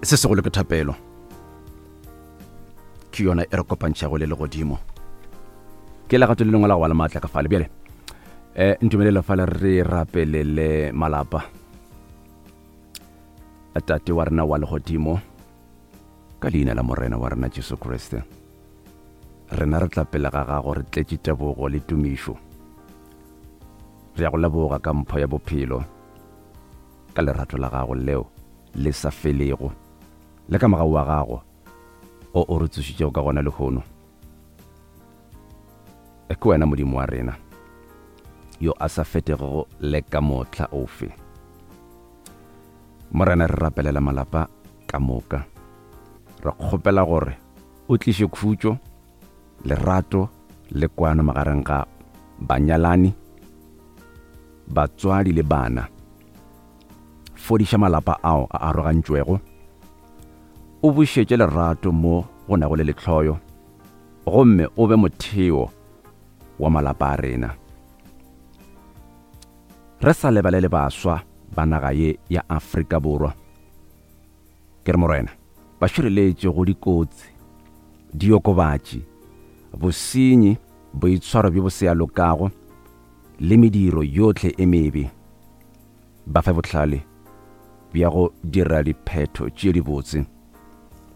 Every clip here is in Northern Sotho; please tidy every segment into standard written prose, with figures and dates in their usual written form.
Se segolo ke thapelo. Ke yona e re kopantšhago le legodimo. Ke legato le lengwe la go ba le maatla ka fale. Bjale, um ntumelele fale re rapelele malapa. Tate wa rena wa legodimo, ka leina la Morena wa rena Jesu Kriste, rena re tla pele ga gago re tletše tebogo le tumišo. Re ya go leboga ka mpho ya bophelo, ka lerato la gago leo le sa felego, le ka mogau wa gago o o re tsošitšego ka gona lehono. Ke wena Modimo wa rena yo a sa fetegego le ka mohla ofe. Morena, re rapelela malapa ka moka. Re kgopela gore o tliše khutšo, lerato le kwano magareng ga banyalani, batswadi le bana. Fodiša malapa ao a arogantšwego, o bušetše lerato mo go nago le lehloyo, gomme o be motheo wa malapa a rena. Re sa lebalele baswa ba naga ye ya Afrika Borwa. Ke re Morena, ba šireletše go dikotsi, diokobatši, bosenyi, boitshwaro bjo bo se ya lokago le mediro yohle e mebe. Ba fe bohlale bja go dira diphetho tše dibotse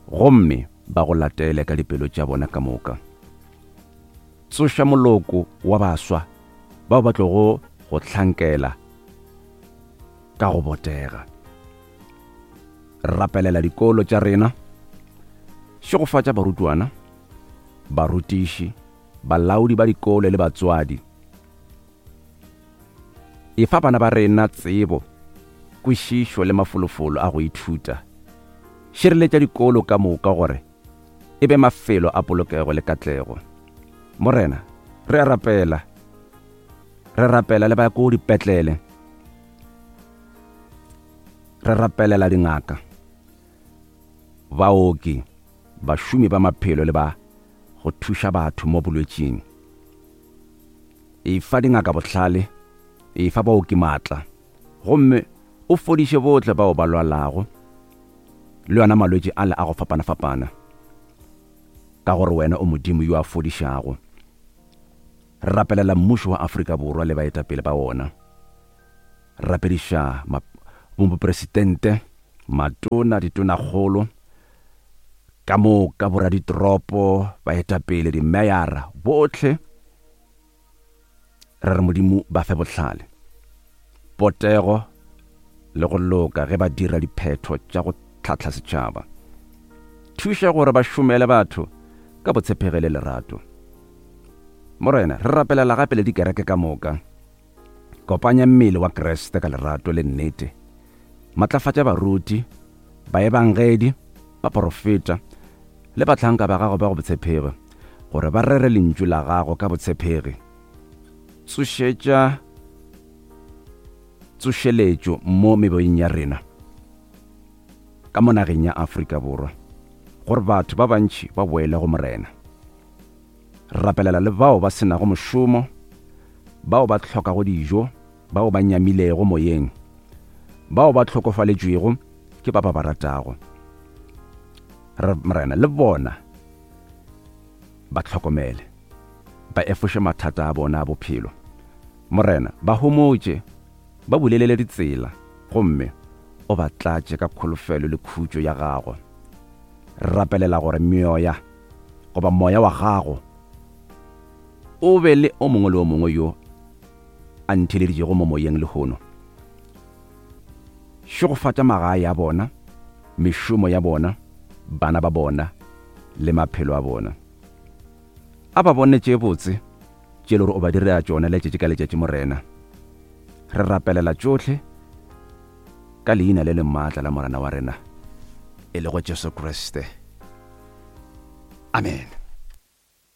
gomme ba go latele ka dipelo tša bona ka moka. Tsoša moloko wa baswa bao ba tlogo go hlankela ka go botega. Rapelela dikolo tša rena. Šegofatša barutwana, barutiši, balaodi ba dikolo le batswadi. Efa bana ba rena tsebo, kwešišo le mafolofolo a go ithuta. Šireletša dikolo ka moka gore e be mafelo a polokego le katlego. Morena, re a rapela. Re rapela le ba ko dipetlele. Re rapelela dingaka, baoki, bašomi ba maphelo le ba go thuša batho mo bolwetšing. Efa dingaka bohlale, efa baoki maatla, gomme o fodiše bohle bao ba lwalago le yona malwetši ale a go fapana-fapana, ka gore wena o Modimo yo a fodišago. Re rapelela mmušo wa Afrika Borwa le baetapele ba wona. Re rapediša bomopresidente, matona, ditonakgolo, ka moka boraditoropo, baetapele, dimeyara, bohle. Re re Modimo ba fe bohlale, potego le go loka ge ba dira diphetho tša go tlhahla setšhaba. Thuša gore ba šomele batho ka botshepegi le lerato. Morena, re rapelela gape le dikereke ka moka. Kopanya mmele wa Kriste ka lerato le nnete. Matlafatša baruti, baebangedi, baporofeta le bahlanka ba gago ba go botshepegi gore ba rere lentšu la gago ka botshepegi. Tsošetša tsošeletšo mo meboyeng ya rena ka mo nageng ya Afrika Borwa gore batho ba bantši ba boele go Morena. Rapelela le bao ba se nago mošomo, bao ba hlokago dijo, bao ba nyamilego moyeng, bao ba hlokofaletšwego ke ba ba ba ratago. Re, Morena, le bona ba hlokomele, ba efoše mathata a bona a bophelo. Morena, ba homotše, ba bulelele ditsela, gomme o ba tlatše ka kholofelo le khutšo ya gago. Re rapelela gore meoya goba moya wa gago o be le o mongwe le o mongwe yo a ntheleditšego mo moyeng lehono. Šegofatša magae a bona, mešomo ya bona, bana ba bona le maphelo a bona. A ba bone tše botse tše le gore o ba direla tšona letšatši ka letšatši, Morena. Re rapelela tšohle ka leina le le maatla la Morena wa rena, e lego Jesu Kriste. Amen.